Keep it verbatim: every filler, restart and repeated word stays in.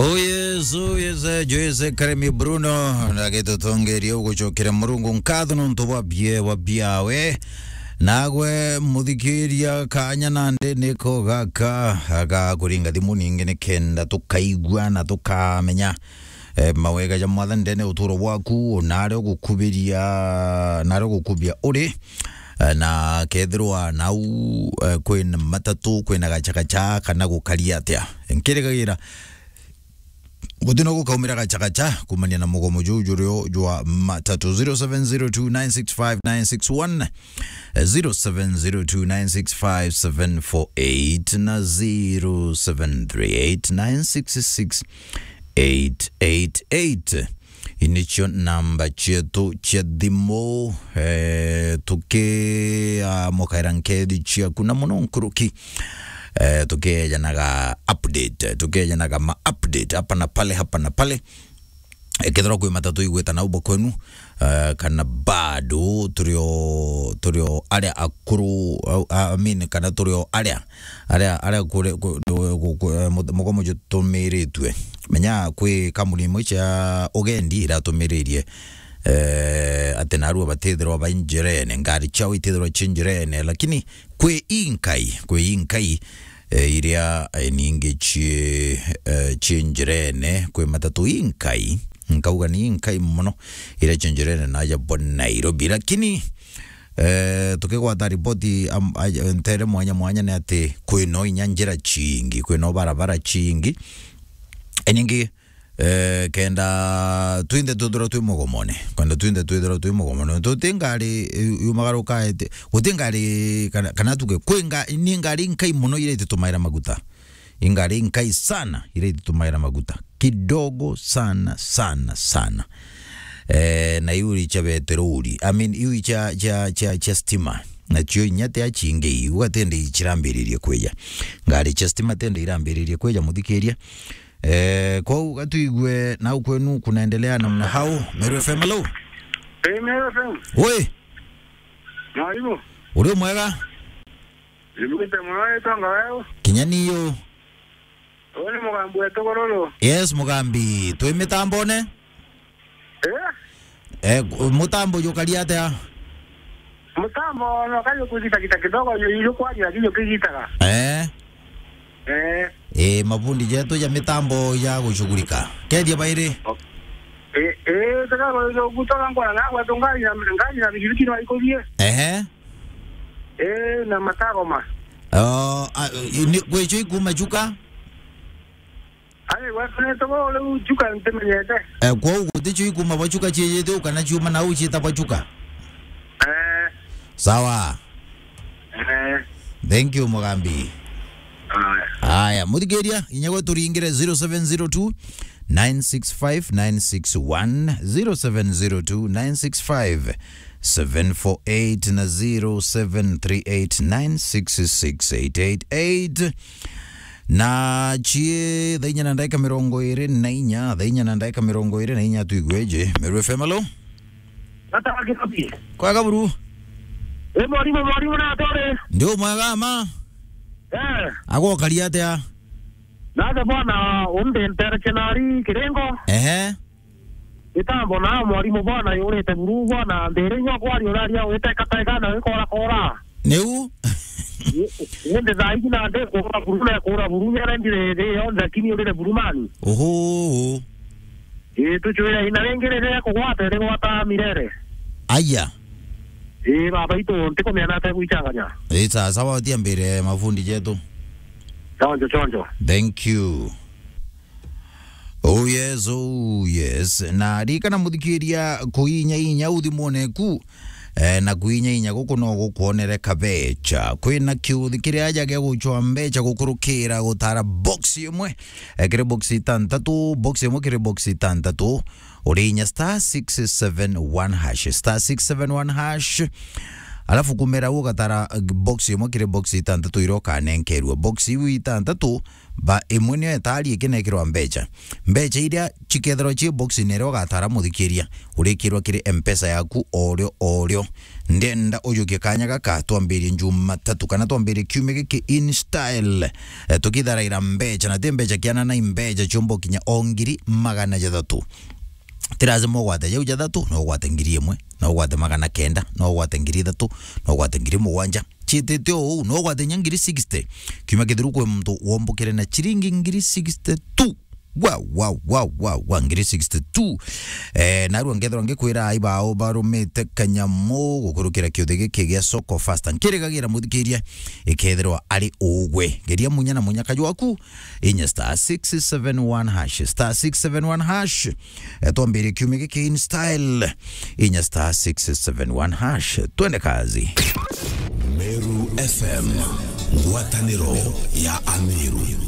Oh yes, oh yes, eh, Joyce Karemi Bruno, na gitutongeria ugucokera Murungu nkatho nontu bwa bie, bwa biawe. Nagwe muthikiria kanya nandi niko gaka, aga kuringa thimu ningi nikenda tukaigua na tukamenya, eh, mawega ja Mwathani ndene uturo bwaku, na aria ugukubiria, na aria ugukubia uri, eh, na kethirwa nau, eh, kwina matatu, kwina gachakacha, kana gukari atia. Nkirigagira gutina gukaumira gachakacha kumania na mugomo juu jurio jwa matatu. Zero seven zero two nine six five nine six one, zero seven zero two nine six five seven four eight na zero seven three eight nine six six eight eight eight. Inicio namba cietu cia thimu, eh, tukiamukaira nkethi ciaku na muno nkuruki. Eh, tukiejanaga update, tukiejanaga ma update hapa na pale, hapa na pale. Eh, kethirwa kwi matatu igwita nau bo kwenu, eh, kana bado turio, turio aria akuru, uh, I mean, kana turio aria, aria, aria kure, ku-, ku-, ku-, ku-, eh, mu-, mugomo jutumiritue. Menya kwi kambuni imwe cia ugendi iratumiririe, eh, ati narua batithirwa bai njirene, ngari ciao itithirwa ci njirene, lakini kwi inkai, kwi inkai, eh, iria, eh, ningi ci, eh, ci njirene, kwi matatu inkai, nkauga ni inkai mono, iria ci njirene naja bo Nairobi. Lakini, eh, tukigwata ripoti, am-, aj-, ntere mwanya mwanya ni ati kwino inya njira ciingi, kwino barabara ciingi. Iningi, eh, kenda twinthe twithirwa twi mugomone, kenda twinthe twithirwa twi mugomone, tuti ngari, eh, yumagaruka ete, guti ngari kana, kana tuge, kwi nga-, ni ngari nkai mono iria ititumaira maguta. Ingari nkai sana iria ititumaira maguta. Kidogo sana, sana, sana. Eh, na iu icha beterori. I mean, iu icha, cha, cha, cha stima. Nacio inya ti achingi iu, atende ichirambiririe kwija. Ngari cha stima tende irambiririe kwija, muthikiria. Eh, kwou gatuigue nau kwenu kunaendelea namna hau. Meru F M, hello. Eh, Meru F M. Oi. Mwarimu. Uri mwega? Nimwite muno, witwa Ngaweu. Kinya niyo. Uu ni Mugambi wetu Gururu. Yes, Mugambi. Twi mitambone? Eh? Eh, mutambo jukari atia? Mutambo no kayo kugitagita kidogo, yu, yu kwaria, lakini ukigitaga. Eh? Eh. Eh, mafundi jetu ja mitambo ya gushughulika. Kethia bairi? Eh, eh, tega go, go, gutoka ngora na gwa tungari na, ngari na bigiriki no ikuthie. Ehe. Eh, na matagoma. Oh, a, ni, gwicho ikuma Chuka? Ai, gwetu ni tugo riu Chuka ntimenyete. Eh, kwou guticho ikuma bwa Chuka ciejete u kana ciuma nau cietagwa Chuka? Eh. Sawa. Eh. Thank you, Mugambi. Aya. Aya, muthikiria, inya gwe turingire zero seven zero two nine six five nine six one, zero seven zero two nine six five seven four eight na zero seven three eight nine six six eight eight eight. Na cie thaa inya na ndagika mirongo iri na inya, thaa inya na ndagika mirongo iri na inya, tuigweje? Meru F M, alo? Gata wa Gikobi. Kwega buru? E, mwarimu, mwarimu, na atore. Ndi umwega ma? Eh. Agokaria atia? Naja bwana, undentereche nari Kiringo. Ehe. Mitambo na mwarimu bwana yurite buru bwana, mbere inya kwari uraria wite katega na wikora kora. Niu? Indi thaa iji na ndi kura buru na kura buru nyara ndire thi yonthe, lakini urire buru mani. Oho. Ii, tucwire ina ringi riria kugwata rigwata mirere. Aya. Ii, baba itu ntikumenya nate gwichanganya. Ii, sawa sawa, utia mbere mafundi jetu. Chonjo, chonjo. Thank you. Oh yes, oh yes. Na ririkana muthikiria, kuinya inya uthimone ku, eh, na kuinya inya guku no gukwonere kabecha. Kwina kiuthi kiria aja gia guchwa mbecha gukurukira gutara box imwe, eh, kiri box itantatu, box imwe kiri box itantatu, uri inya star six seven one hash, star six seven one hash. Alafu kumera ugatara, eh, box imwe kiri box itantatu iria ukanenkerua. Box iu itantatu, ba imwe niyo etari ikinekirwa mbecha. Mbecha iria chikethirwa chi box-ini iria ugatara muthikiria, urikirwa kiri M-Pesa yaku orio orio. Ndenda ujukie kanya gaka, twambirie Jumatatu kana twambirie kiumia giki in style. Eh, tukitharaira mbecha, na ti mbecha kiana, na mbecha ciumba kinya o ngiri magana jathatu. Ti lazima ugwate jau jathatu, no ugwate ngiri imwe, no ugwate magana kenda, no ugwate ngiri ithatu, no ugwate ngiri mugwanja. Chitite o uu, no ugwate nya ngiri sixty. Kiumia kithiru kwi muntu wombukire na chiringi ngiri sixty tu. Wa, wa, wa, wa, wa, ngiri sixty-two. Eh, narua ngethirwa ngikwira ai bao barumite kanyamu gukurukira kiuthi giki gia Soko Fasta. Nkirigagira muthikiria ikethirwa ari ugwe. Geria munya na munya kaju waku, inya star six seven one hash, star six seven one hash. Eh, twambirie kiumia giki in style. Inya star six seven one hash. Twende kazi. Meru F M, ngwataniro ya Ameru.